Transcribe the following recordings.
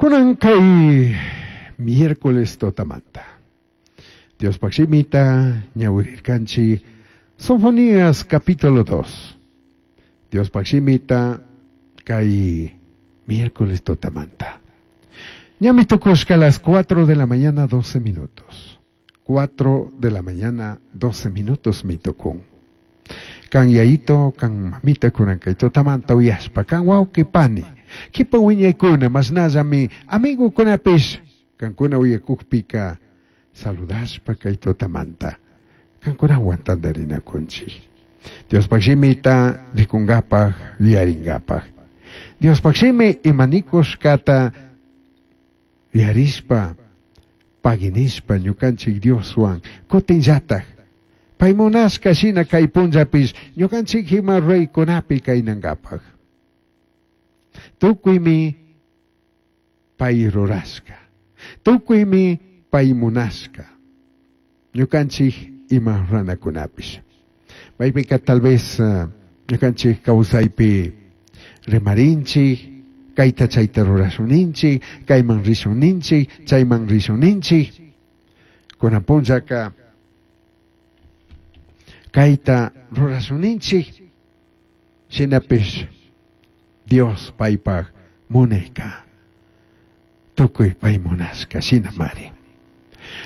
Kunan kay miércoles tutamanta. Diospaj shimita ñawirirkanchik Sofonías capítulo 2. Diospaj shimita kay miércoles tutamanta. Ñami tukushka las 4 de la mañana 12 minutos. 4 de la mañana 12 minutos mi tukun. Kan yayito, kan mamita kunan kay tutamanta uyashpa, kan wawqi pani. Kipa wiñaykuna mashnallami amigukunapish kankuna uyakukpika saludashpa kay tutamanta. Kankunawan tantarinakunchik. Diospaj shimita rikungapaj, yuyaringapaj. Diospaj shimi imanikushkata yuyarishpa, paginishpa ñukanchik Dioswan kutinllataj. Pay munashka shina kay punllapish ñukanchik ima ruraykunapi kaynankapaj. Tukuymi pay rurashka. Tukuymi pay munashka. Ñukanchik ima ruranakunapish. Maypika tal vez ñukanchik kawsaypi rimarinchik, kayta chayta rurashun ninchik, kayman rishun ninchik, chayman rishun ninchik. Kunan punllaka kayta rurashun ninchik, shinapish Dios paypaj munayka. Tukuy pay munashka shinamari.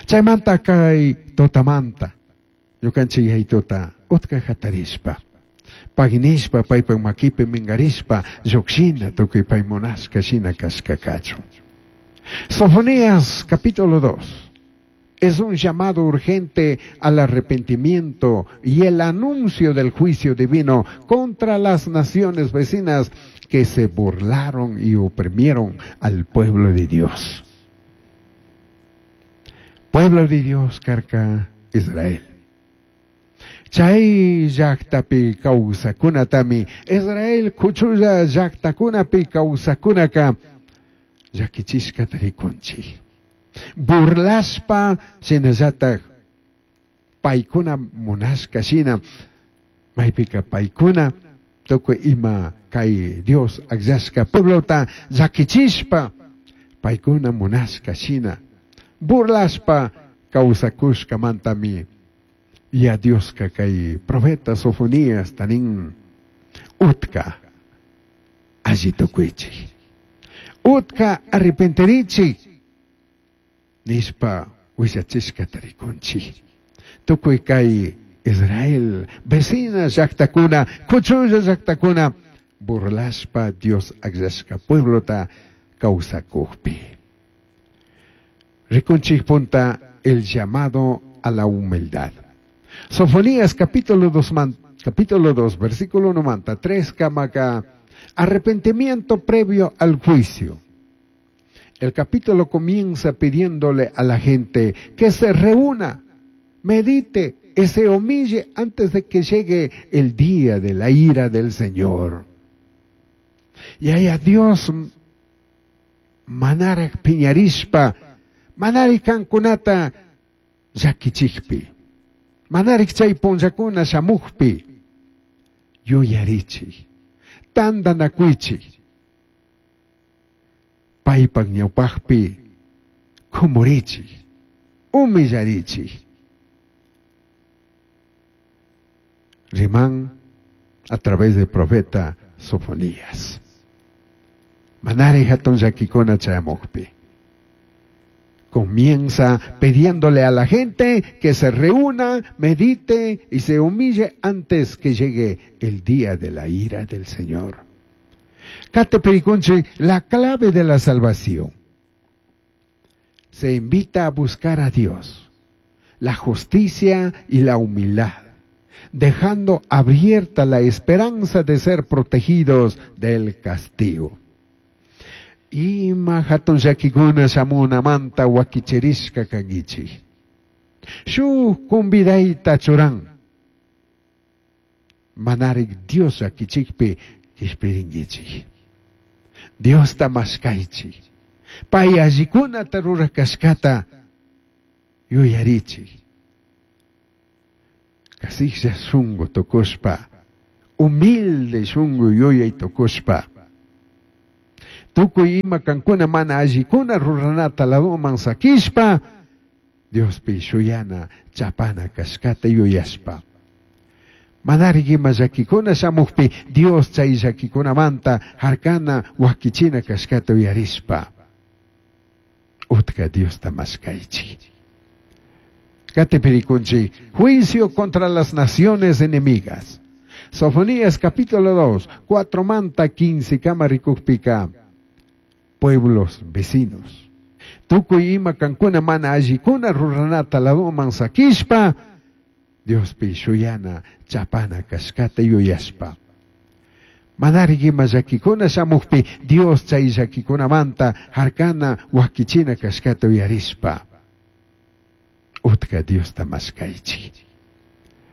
Chaymanta kay tutamanta ñukanchik yayituta utka hatarishpa, paginishpa paypaj makipi minkarishpa llukshina tukuy pay munashka shina kashka kachun. Sofonías capítulo 2 es un llamado urgente al arrepentimiento y el anuncio del juicio divino contra las naciones vecinas que se burlaron y oprimieron al pueblo de Dios. Pueblo de Dios, karka Israel. Chay llaktapi kawsakunatami, Israel kuchulla llaktakunapi kawsakunaka llakichishkata rikunchik. Burlashpa shinallatak paykuna munashka shina, maypika paykuna tukuy ima kay Dios akllashka pueblota llakichishpa paykuna munashka shina burlashpa kawsakushkamantami ya Dioska kay profeta Sofonías tanin utka alli tukuychik. Utka arrepentirichik nishpa willachishkata rikunchik. Tukuy kay Israel vecina llaktakuna, kuchulla llaktakuna burlashpa Dios akllashka pueblota kawsakukpi. Rikunchik punta el llamado a la humildad. Sofonías capítulo 2, capítulo 2, versículo 93, kamaka, arrepentimiento previo al juicio. El capítulo comienza pidiéndole a la gente que se reúna, medite y se humille antes de que llegue el día de la ira del Señor. Y a Dios manaraj piñarishpa, manarik kankunata llakichikpi, manarik chay punllakuna shamukpi, yuyarichik, tantanakuychik, paypak ñawpaqpi kumurichik, humillarichik. Riman a través del profeta Sofonías. Manari hatun llakikuna chayamukpi. Comienza pidiéndole a la gente que se reúna, medite y se humille antes que llegue el día de la ira del Señor. Kate Periconche, la clave de la salvación. Se invita a buscar a Dios, la justicia y la humildad, dejando abierta la esperanza de ser protegidos del castigo. Ima hatun llakikuna shamunamanta wakichirishka kankichik. Shuk convidayta churan. Manarik Dios llakichikpi kishpirinkichik. Diosta mashkaychik. Pay allikunata rurakashkata yuyarichik. Kasiklla shunku tukushpa, humilde shunku yuyay tukushpa. Tukuy ima kankuna mana allikuna ruranata ladoman sakishpa, Diospi shuyana chapana kashkata yuyashpa. Manarik ima llakikuna shamukpi Dios chay llakikunamanta harkana wakichina kashkata uyarishpa. Utka Diosta mashkaychik. Katipi rikunchik, juicio contra las naciones enemigas. Sofonías capítulo 2, 4 manta 15 kama rikukpika, pueblos vecinos. Tukuy ima kankuna mana allikuna ruranata ladoman sakishpa, Diospi shuyana chapana kashkata yuyashpa. Manarik ima llakikuna shamukpi Dios chay llakikunamanta harkana wakichina kashkata uyarishpa. Utka Diosta mashkaychik.